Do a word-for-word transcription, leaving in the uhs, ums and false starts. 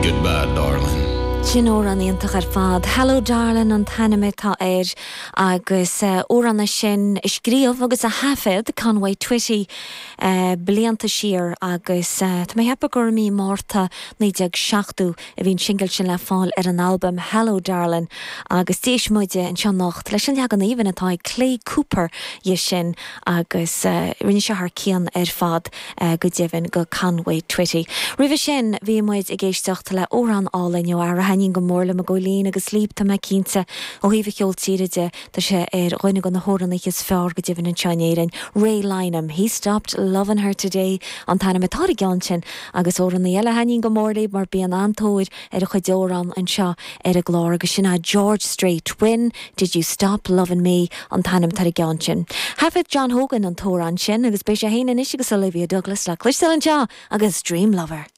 Goodbye, darling. Sin amhrán iontach ar fad. Hello Darling an t-ainm atá air agus amhrán uh, sin a scríobh agus a thaifead Conway Twitty uh, blianta siar agus uh, Tá mé ag ceapadh gur mí Márta naoi déag seachtó a bhí an singil sin le fáil ar an albam Hello Darling agus d'éist muid anseo anocht leis an leagan aoibhinn atá ag Clay Cooper dhe sin agus uh, rinne sé thar cionn ar fad uh, go deimhin go Conway Twitty. Roimhe sin bhí muid ag éisteacht le amhrán álainn ó fhear a thaitníonn go mór le mo ggóilín agus líb tá me cinnte ó thaobh an cheoil tíre de tá sé ar dhuine de na hamhránaithe is fearr go deimhin anseo in Éirinn. Ray Lynam, he stopped loving her today an t-ainm atá ar an gceann sin agus amhránaí eile a thaitníonn go mór libh mar bíonn an-tóir ar a chuid amhrán anseo ar an gclár agus sin George Strait When did you stop loving me an t-ainm atá ar an gceann sin. Thaifead John Hogan an t-amhrán sin agus beidh sé féin anois agus Olivia Douglas le cloisteáil anseo agus Dream Lover.